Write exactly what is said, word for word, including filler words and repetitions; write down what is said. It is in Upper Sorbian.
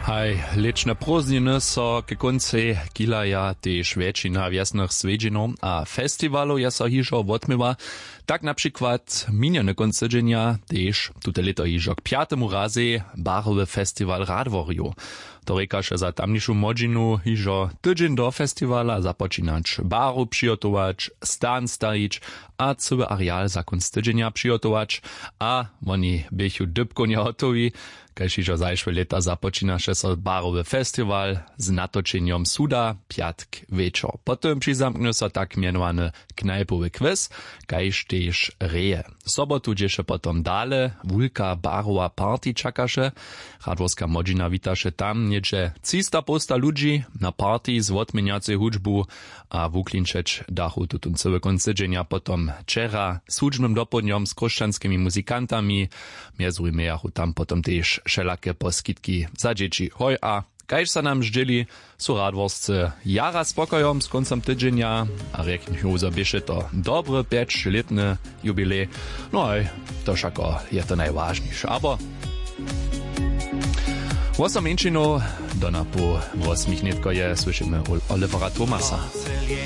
Haj, lětšne prózdniny so k kóncej kihlaja. Tež wjetšina wjesnych swjedźenjow a festiwalow je so hižo wotměła. Tak na přikład minjeny kónc tydźenja tež tute lěto hižo k pjatemu razej barowy festiwal radworjow. To rěkaše za tamnišu młodźinu hižo tydźeń do festiwala započinać baru přihotować, stan stajić a cyły areal za kónc tydźenja přihotować. A woni běchu dypkownje hotowi. Kaž hižo zašłe lěta započinaše so barowy festiwal z natočenjom suda pjatk wječor, potom přizamknju so tak mjenowany knajpowy kwis, kaž tež reje. Sobotu dźěše potom dale wulka barowa party čakaše. Radworska młodźina witaše tam něhdźe třista połsta ludźi na party z wotměnjacej hudźbu a wuklinčeć dachu tutón cyły kónc tydźenja potom wčera z hudźbnym dopołdnjom z chróšćanskimi muzikantami. Mjez druhim mějachu tam potom tež wšelake poskitki za dźěći hoj a kaž so nam zdźěli, su radworsce jara spokojom z kóncom tydźenja a rjeknju zo běše to dobry pjećlětny jubilej. No haj, to wšako je to najwažniše abo wosom mjeńšinow. Do napoł wosmich nětko je słyšimy olivera tomasa.